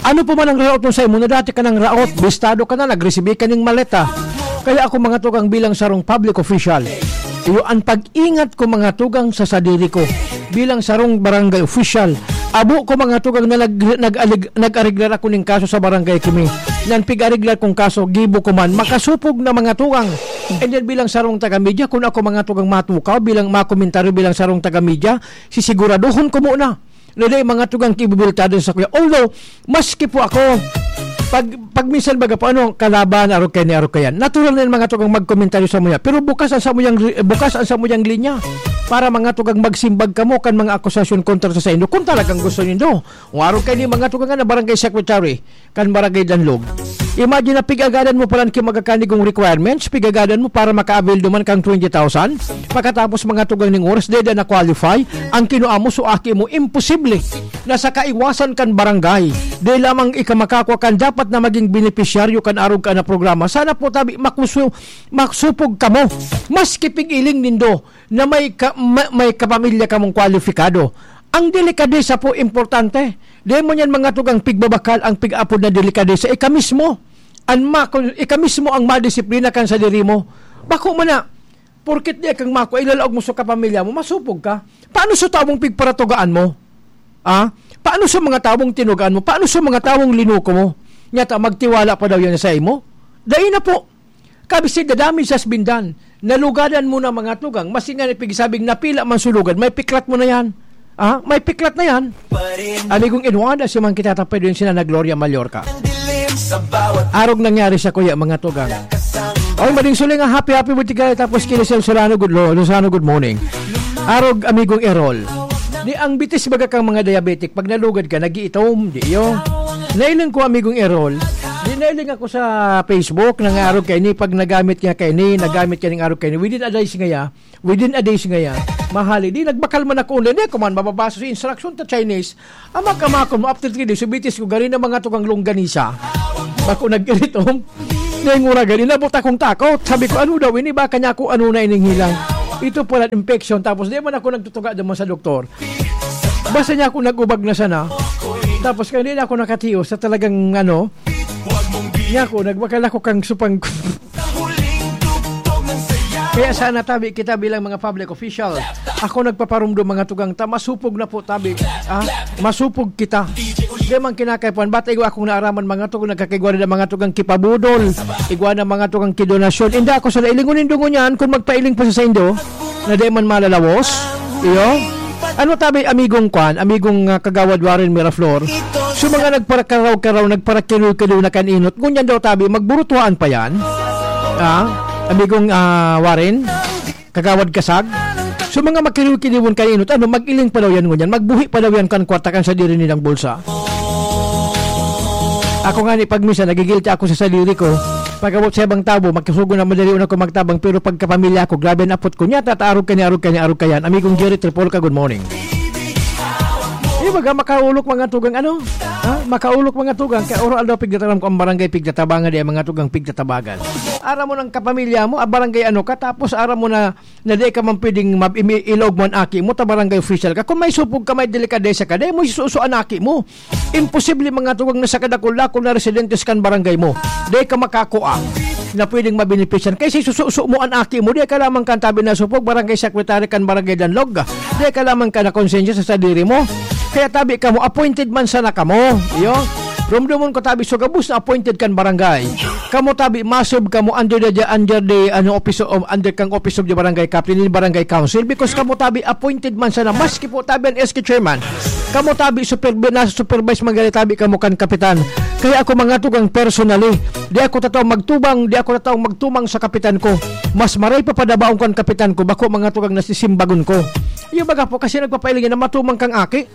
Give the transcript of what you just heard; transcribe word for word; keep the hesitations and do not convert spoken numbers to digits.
Ano pa man ang raot mo sa imo na dati ka nang raot, bistado ka na, nagresibi ka ning maleta. Kaya ako, mga tugang, bilang sarong public official, iyo an pag-ingat ko, mga tugang, sa sadiri ko. Bilang sarong barangay official, abo ko, mga tugang, na nag-, nag-alig-, nag-ariglar ako ning kaso sa barangay kami. Nan pig-ariglar kong kaso, gibo ko man, makasupog na, mga tugang. And then bilang sarong taga-media, kung ako, mga tugang, matukaw, bilang makomentaryo bilang sarong taga-media, sisiguraduhon ko muna na dai, mga tugang, kibibiltado sa kuya. Although, maski po ako, pag, pag minsan baga po, ano, kalaban, arog kaini, arog kaiyan. Natural na yan, mga tugang, magkomentaryo sa muya. Pero bukas ang samuyang, bukas ang samuyang linya para, mga tugang, magsimbag kamo kan mga akusasyon kontra sa saindo. Kung talagang gusto nindo, o arog kaini, mga tugang, na barangay secretary kan Barangay Danlog. Imagine na pig-agadan mo palan ki mga kanigong requirements, pig-agadan mo para maka-avail duman kang twenty thousand. Pagkatapos, mga tugang, ning oras, dai na qualify ang kinua mo, so aki mo, imposible na sa kaiwasan kan barangay. Dai lamang ika makakua kan dapat na maging benepisyaryo kan arog ka na programa. Sana po tabi makusu-, maksupog kamo. Maski pig-iling nindo na may ka-, ma-, may kapamilya kamong kwalipikado. Ang delikadesa po importante. Dai mo niyan, mga tugang, pigbabakal ang pig-apod na delikadesa. Ika mismo, an ma-, ika mismo ang madisiplina kan sadiri mo. Bako man na, porket di kang mako, ilalaog mo sa kapamilya mo, masupog ka. Paano sa tawong pigparatugaan mo? Ah? Paano sa mga tawong tinugaan mo? Paano sa mga tawong linuko mo? Nyata, magtiwala pa daw yan sa imo? Dai na po. Kabisig the damage has been done. Nalugadan mo na, mga tugang. Masinga ni pigsabing napila man sulugad. May piklat mo na yan. Ah, may piklat na yan. Amigong Eduardo, si Mang Kita Tapay, doon sila na Gloria Mallorca. Arog nangyari sa kuya, mga tugang. Oy, mading suling nga, happy, happy birthday kayo. Tapos, Kilisel Solano, good, Lo-, Lozano, good morning. Arog, amigong Errol. Di ang bitis baga kang mga diabetic, pag nalugad ka, nag-iitom, di iyo. Nailing ko, amigong Errol. Di nailing ako sa Facebook, nangarog kaini, pag nagamit niya kaini, nagamit niya ning arog kaini. Within a days ngaya, within a days ngaya, mahali. Di nagbakal man ako online, di ko man mababaso sa instruction ta Chinese. Ama ka makon mo, after three days, subitis ko, gari na mga tukang longganisa. Bako nag-iritom. Ngayong ura, gani, nabot akong takot. Sabi ko, "Ano daw ini? Baka niya ako ano na ining hilang." Ito pala, infection. Tapos, di man ako nagtutuga naman sa doktor. Basta niya ako nag-ubag na sana. Tapos, kaya di na ako nakatiyo sa talagang, ano, niya ako, nagbakal ako kang supang. Kaya sana tabi kita bilang mga public official. Ako nagpaparumdom, mga tugang ta, masupog na po tabi. Ah, masupog kita. Di man kinakaipuhan. Ba't igwa akong naaraman, mga tugang, nagkakaigwa na mga tugang kipabudol. Igwa na mga tugang kidonasyon. Inda ako sa nailingon nindo ngunyan kung magpailing pa sa saindo na di man malalawos. Iyo? Ano tabi, amigong kwan, amigong, ah, Kagawad Warren Miraflor? So, mga nagparakaraw-karaw, nagparakiliw-kiliw na kan inot, ngunyan daw tabi, magburutuhaan pa yan? Ah, amigong, ah, Warren? Kagawad Kasag? So, mga makiliw-kiliwon kan inot, ano, mag-iling pa daw yan ngunyan, magbuhi pa daw yan kan kwarta kan sadiri nilang bulsa. Ako nga ni, pag minsan, nagigilty ako sa sadiri ko. Pag-abot sa ibang tabo, makisugo na madali una ko magtabang, pero pagkapamilya ko, grabe ang apot ko. Nyata, ta, arog ka ni, arog ka ni, arog ka yan. Amigong Jerry Tripolca, good morning. Di ba, makaulok mga tugang ano? Ha? Makaulok mga tugang. Kaya oro aldaw pigtataram ko ang barangay pigtatabangan, di ang mga tugang pigtatabagan. Aram mo ng kapamilya mo, ah, barangay ano ka, tapos aram mo na na di ka man pwedeng mab-, imi-, ilog mo an aki mo ta barangay official ka. Kung may supog ka, may delikadesa ka, di mo isuso an aki mo. Imposible, mga tugang, na sa kadakul-dakul na residentes kan barangay mo, di ka makakua na pwedeng mabenepisyan. Kaya sa isususo mo an aki mo, di ka lamang kan tabi na supog, barangay secretary kan barangay Danlog. Di ka lamang ka na konsensya sa sadiri mo. Kaya tabi ka mo, appointed man sana ka mo. Iyo. Rumdumon ko tabi, so gabos na appointed kan barangay. Kamo tabi, masub kamo under the, under the, ano, office of, under kang office of the barangay captain, in barangay council, because kamo tabi, appointed man sana, maski po tabi ang S K chairman. Kamo tabi, super-, nasa supervise man gani tabi kamo kan kapitan. Kaya ako, mga tugang, personally, di ako tataong magtubang, di ako tataong magtumang sa kapitan ko. Mas maray pa padabaon kan kapitan ko, bako, mga tugang, nasisimbagon ko. Yung baga po, kasi nagpapailing na matumang kang aki.